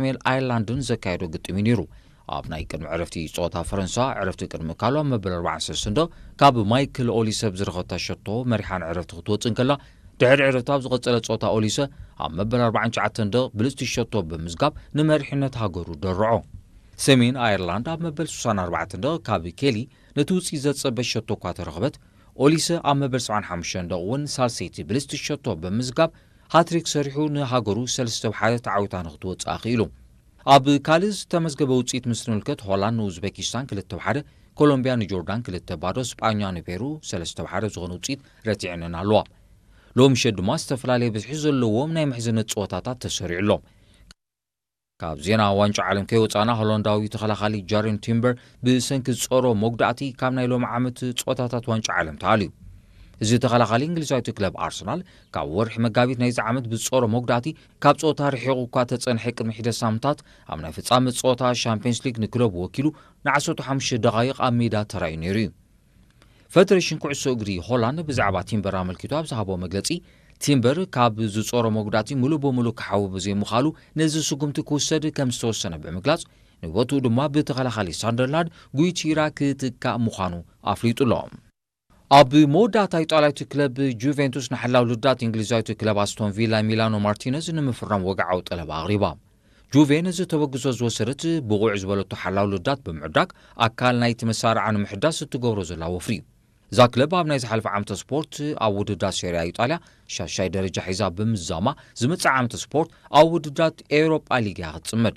ሰሜን ኣየርላንድን ዘካየዶ ግጥም እዩ ነይሩ። ኣብ ናይ ቅድሚ ዕረፍቲ ጸወታ ፈረንሳ ዕረፍቲ ቅድሚ ምእካሉ ኣብ መበል ኣርባዓን ሰለስተን ደቕ ካብ ማይክል ኦሊሰ ብዝረኸብታ ሸቶ መሪሓን ዕረፍቲ ክትወጽእ እንከላ፣ ድሕሪ ዕረፍቲ ኣብ ዝቐጸለ ጸወታ ኦሊሰ ኣብ መበል ኣርባዓን ትሽዓተን ደቕ ብልጽቲ ሸቶ ብምዝጋብ ንመሪሕነት ሃገሩ ደርዖ። ሰሜን ኣየርላንድ ኣብ መበል ስሳን ኣርባዕተን ደቕ ካብ ኬሊ ነቲ ውጽኢት ዘጸበ ሸቶ እኳ ተረኽበት፣ ኦሊሰ ኣብ መበል ሰብዓን ሓሙሽተን ደቕ እውን ሳልሰይቲ ብልጽቲ ሸቶ ብምዝጋብ ሃትሪክ ሰሪሑ ንሃገሩ ሰለስተ ብ ሓደ ተዓዊታ ንክትወጽእ ኣኽኢሉ። ኣብ ካልእ ዝተመዝገበ ውጽኢት ምስ ንምልከት፣ ሆላንድ ንኡዝቤኪስታን ክልተ ብ ሓደ፣ ኮሎምቢያ ንጆርዳን ክልተ ባዶ፣ ስጳኛ ንፔሩ ሰለስተ ብ ሓደ ዝኾነ ውጽኢት ረቲዐንን ኣለዋ። ሎሚ ምሸት ድማ ዝተፈላለየ ብዝሒ ዘለዎም ናይ ምሕዝነት ጸወታታት ተሰሪዑ ኣሎ። ካብ ዜና ዋንጫ ዓለም ከይወጻና፣ ሆላንዳዊ ተኸላኻሊ ጃሬን ቲምበር ብሰንኪ ዝጾሮ መጉዳእቲ ካብ ናይ ሎሚ ዓመት ጸወታታት ዋንጫ ዓለም ተኣልዩ። እዚ ተኸላኻሊ እንግሊዛዊት ክለብ ኣርሰናል ካብ ወርሒ መጋቢት ናይዚ ዓመት ብዝጾሮ መጉዳእቲ ካብ ጸወታ ርሒቑ እኳ ተጸንሐ፣ ቅድሚ ሒደት ሳምንታት ኣብ ናይ ፍጻመ ጸወታ ሻምፒየንስ ሊግ ንክለቡ ወኪሉ ንዓሰርተ ሓሙሽተ ደቓይቕ ኣብ ሜዳ ተራእዩ ነይሩ እዩ። ፈደሬሽን ኩዕሶ እግሪ ሆላንድ ብዛዕባ ቲምበር ኣመልኪቱ ኣብ ዝሃቦ መግለጺ፣ ቲምበር ካብ ዝጾሮ መጉዳእቲ ሙሉእ ብሙሉእ ክሓዊ ብዘይምኻሉ ነዚ ስጉምቲ ክውሰድ ከም ዝተወሰነ ብምግላጽ፣ ንቦትኡ ድማ ብተኸላኻሊ ሳንደርላንድ ጉይቲራ ክትካእ ምዃኑ ኣፍሊጡ ኣሎ። ኣብ መወዳእታ ኢጣልያዊት ክለብ ጁቬንቱስ ንሓላው ልዳት እንግሊዛዊት ክለብ ኣስቶን ቪላ ሚላኖ ማርቲነዝ ንምፍራም ወግዓዊ ጠለብ ኣቕሪባ። ጁቬ ነዚ ተበግሶ ዝወሰደት ብቑዕ ዝበለቶ ሓላው ልዳት ብምዕዳግ ኣካል ናይቲ መሳርዓ ንምሕዳስ እትገብሮ ዘላ ወፍሪ እዩ። እዛ ክለብ ኣብ ናይ ዝሓለፈ ዓመተ ስፖርት ኣብ ውድድራት ሴሪያ ኢጣልያ ሻሻይ ደረጃ ሒዛ ብምዛማ፣ ዝመጽእ ዓመተ ስፖርት ኣብ ውድድራት ኤውሮጳ ሊግ እያ ክትጽመድ።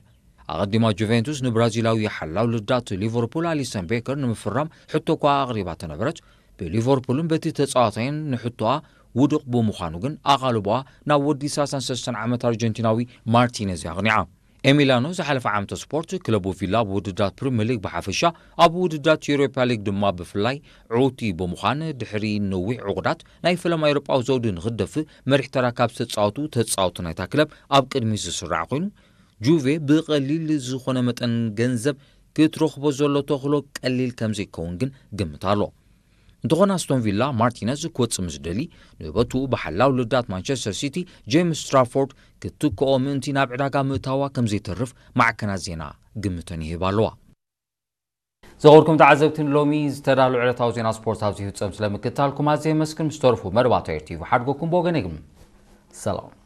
ኣቐዲማ ጁቬንቱስ ንብራዚላዊ ሓላው ልዳት ሊቨርፑል ኣሊሰን ቤከር ንምፍራም ሕቶ እኳ ኣቕሪባ ተነበረት፣ ብሊቨርፑልን በቲ ተጻዋታይን ንሕቶኣ ውዱቕ ብምዃኑ ግን ኣቓልቦኣ ናብ ወዲ ሰላሳን ሰለስተን ዓመት ኣርጀንቲናዊ ማርቲነዝ ኣቕኒዓ። ኤሚላኖ ዝሓለፈ ዓመተ ስፖርት ክለቡ ቪላ ኣብ ውድድራት ፕሪምየር ሊግ ብሓፈሻ ኣብ ውድድራት ዩሮፓ ሊግ ድማ ብፍላይ ዕውቲ ብምዃን ድሕሪ ነዊሕ ዕቑዳት ናይ ፈለማ ኤውሮጳዊ ዘውዲ ንክትደፍእ መሪሕ ተራ ካብ ዝተጻወቱ ተጻወቱ ናይታ ክለብ ኣብ ቅድሚት ዝስራዕ ኮይኑ ጁቬ ብቐሊል ዝኾነ መጠን ገንዘብ ክትረኽቦ ዘሎ ተኽእሎ ቀሊል ከም ዘይከውን ግን ግምት ኣሎ። እንተኾነ ኣስቶን ቪላ ማርቲነዝ ክወጽእ ምስ ደሊ ንበቱ ብሓላው ልዳት ማንቸስተር ሲቲ ጄምስ ስትራፎርድ ክትክኦ ምእንቲ ናብ ዕዳጋ ምእታዋ ከም ዘይተርፍ ማዕከናት ዜና ግምተን ይህባ ኣለዋ። ዘኸብርኩም ተዓዘብቲ ንሎሚ ዝተዳሉ ዕለታዊ ዜና ስፖርት ኣብዚ ይፍጸም። ስለምክትታልኩም ኣዝየ የመስግን። ምስ ተረፉ መደባት ኤር ቲቪ ሓድጎኩም ብወገነይ ግን ሰላም።